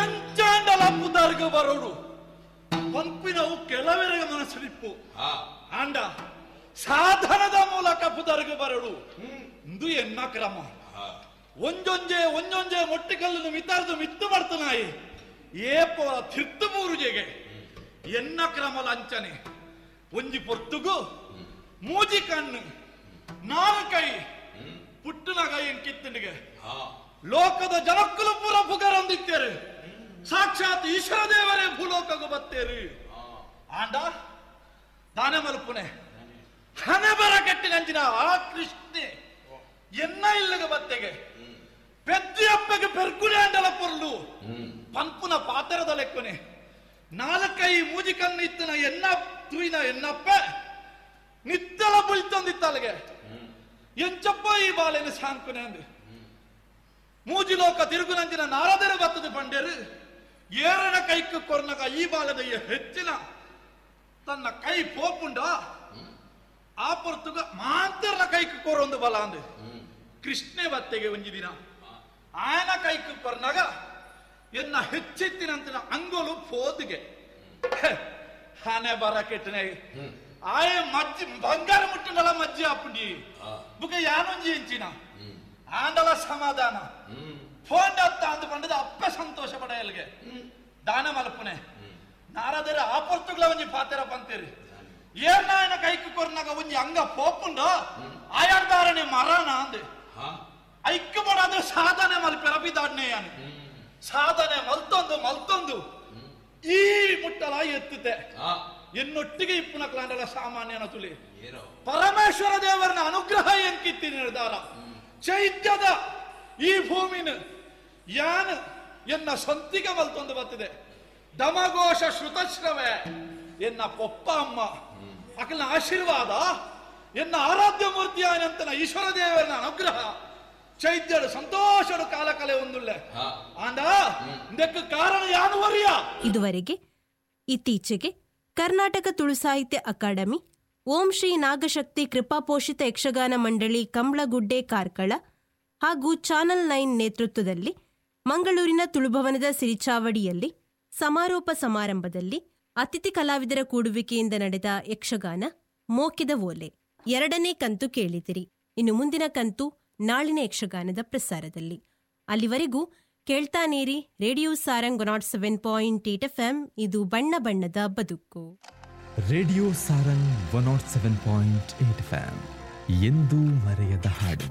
ಎಂಚಾಂಡಲ ಪುದರ್ಗ ಬರೋಡು ಪಂಪಿನವು ಕೆಲವರಿಗೆ ಮನಸ್ಸಿಲಿಪ್ಪು. ಆಂಡ ಸಾಧನದ ಮೂಲಕ ಪುದರ್ಗ ಬರೋಡು ಇಂದು ಎನ್ನ ಕ್ರಮ. ಒಂಜೊಂಜೆ ಒಂಜೊಂಜೆ ಮೊಟ್ಟಿಕಲ್ಲನ್ನು ಮಿತಾರ್ದು ಮಿತ್ತು ಬರ್ತನಾಯಿ ಏಪೋಲ ತಿರ್ತು ಮೂರುಜೆಗೆ ಎನ್ನ ಕ್ರಮ ಲಾಂಛನೆ. ಒಂಜಿ ಪೊರ್ತುಗು ಮೂಜಿ ಕಣ್ಣು ನಾಲ್ಕೈ ಕೈ ಪುಟ್ಟುನಗ ಏನ್ ಕಿತ್ತನಿಗೆ ಲೋಕದ ಜನಕ್ಕಲು ಪೂರ ಪುಗರೊಂದಿತ್ತೇರು. ಸಾಕ್ಷಾತ್ ಈಶ್ವರ ದೇವರೇ ಭೂಲೋಕಗೂ ಬತ್ತೇರು. ಆಂಡ ದಾನೆ ಮಲ್ಪುನೆ ಹಣೆ ಬರ ಕಟ್ಟಿನಂಚಿನ ಆ ಕೃಷ್ಣೆ ಎನ್ನ ಇಲ್ಲಗ ಬತ್ತೆಗೆ ಪೆದ್ದಿಯಪ್ಪಗೆ ಪೆರ್ಗುನೆ ಅಂಡಲ ಪೊರ್ಲು ಪಂಪುನ ಪಾತರದ ಲೆಕ್ಕನೆ ನಾಲ್ಕೈ ಮೂಜಿ ಕಣ್ಣು ಇತ್ತನ ಎನ್ನ ತೂಯಿನ ಎನ್ನಪ್ಪ ನಿತ್ತಲ ಬುಳ್ತೊಂದಿತ್ತಲ್ಗೆ ಎಂಚಪ್ಪ ಈ ಬಾಲೆನ ಸಾಂಕುನೆ ಅಂದು ಮೂಜಿ ಲೋಕ ತಿರುಗುನಂಚಿನ ನಾರದರು ಬತ್ತದ ಪಂಡೇರು ಏರನ ಕೈக்கு ಕೊರ್ನಗ ಈ ಬಾಲದ ಹೆಚ್ಚಿನ ತನ್ನ ಕೈ ಪೋಪುಂಡ ಆ ಪೊರ್ತುಗ ಮಾಂತರ್ನ ಕೈக்கு ಕೊರೊಂದು ಬಲ ಅಂದು ಕೃಷ್ಣೆ ಬತ್ತೆಗೆ ಒಂಜಿ ದಿನ ಆಯನ ಕೈக்கு ಕೊರ್ನಗ ಎನ್ನ ಹೆಚ್ಚಿತ್ತಿನಂತಿನ ಅಂಗೋಲು ಪೋದಿಗೆ ಹಾನೆ ಬರ ಕೆಟ್ಟನೆ ಆಯ ಮಜ್ಜಿ ಬಂಗಾರ ಮುಟ್ಟುಂಡಲ ಮಜ್ಜಿ ಅಪ್ಪುಂಡಿ ಬುಕ ಯಾನೊಂಜಿ ಎಂಚಿನ ಆಂಡಲ ಸಮಾಧಾನ ಫೋನ್ ಅತ್ತ ಅಂದು ಪಂಡದ ಅಪ್ಪ ಸಂತೋಷ ಪಡೆಯಲ್ಗೆ ದಾನ ಮಲ್ಪುನೆ ನಾರದರ ಆ ಪೊರ್ತುಗಳ ಒಂಜಿ ಪಾತೆರ ಪಂತೇರಿ ಏರ್ನಾಯನ ಕೈಕು ಕೊರ್ನಾಗ ಒಂಜಿ ಅಂಗ ಪೋಪುಂಡ ಆಯಾರ್ದಾರನೆ ಮರಣ ಅಂದೆ ಐಕ್ಯ ಪಡಾದ್ರೆ ಸಾಧನೆ ಮಲ್ಪೆರ ಬಿದಾಡ್ನೆ ಯಾನು ಸಾಧನೆ ಮಲ್ತೊಂದು ಮಲ್ತೊಂದು ಈ ಮುಟ್ಟಲ ಎತ್ತುತ್ತೆ ಎನ್ನೊಟ್ಟಿಗೆ ಇಪ್ಪುನ ಕ್ಲಾಂಡಲ ಸಾಮಾನ್ಯನ ತುಲಿ ಪರಮೇಶ್ವರ ದೇವರನ ಅನುಗ್ರಹ ಎಂಕಿತ್ತಿ ನಿರ್ಧಾರ ಚೈತ್ಯದ ಈ ಭೂಮಿನ ಯಾನ್ ಎನ್ನ ಸಂತಿಗೆ ಮಲ್ತೊಂದು ಬತ್ತಿದೆ. ದಮಘೋಷ ಶ್ರುತಶ್ರವೇ ಎನ್ನ ಪೊಪ್ಪ ಅಮ್ಮ ಅಕಲ್ನ ಆಶೀರ್ವಾದ ಎನ್ನ ಆರಾಧ್ಯ ಮೂರ್ತಿ ಆನಂತನ ಈಶ್ವರ ದೇವರನ ಅನುಗ್ರಹ ಚೈತ್ಯಡು ಸಂತೋಷಡು ಕಾಲ ಕಲೆ ಒಂದುಳ್ಳೆ ಆಂಡ ಇದಕ್ಕೆ ಕಾರಣ ಯಾನು ವರಿಯ. ಇದುವರೆಗೆ ಇತ್ತೀಚೆಗೆ ಕರ್ನಾಟಕ ತುಳು ಸಾಹಿತ್ಯ ಅಕಾಡೆಮಿ ಓಂ ಶ್ರೀ ನಾಗಶಕ್ತಿ ಕೃಪಾಪೋಷಿತ ಯಕ್ಷಗಾನ ಮಂಡಳಿ ಕಂಬ್ಳಗುಡ್ಡೆ ಕಾರ್ಕಳ ಹಾಗೂ ಚಾನಲ್ 9 ನೇತೃತ್ವದಲ್ಲಿ ಮಂಗಳೂರಿನ ತುಳುಭವನದ ಸಿರಿಚಾವಡಿಯಲ್ಲಿ ಸಮಾರೋಪ ಸಮಾರಂಭದಲ್ಲಿ ಅತಿಥಿ ಕಲಾವಿದರ ಕೂಡುವಿಕೆಯಿಂದ ನಡೆದ ಯಕ್ಷಗಾನ ಮೋಕೆದ ಓಲೆ ಎರಡನೇ ಕಂತು ಕೇಳಿದಿರಿ. ಇನ್ನು ಮುಂದಿನ ಕಂತು ನಾಳಿನ ಯಕ್ಷಗಾನದ ಪ್ರಸಾರದಲ್ಲಿ. ಅಲ್ಲಿವರೆಗೂ ಕೇಳ್ತಾನೇರಿ ರೇಡಿಯೋ ಸಾರಂಗ್ 107.8 FM. ಇದು ಬಣ್ಣ ಬಣ್ಣದ ಬದುಕು. ರೇಡಿಯೋ ಸಾರಂಗ್ 107.8 FM ಎಂದೂ ಮರೆಯದ ಹಾಡು.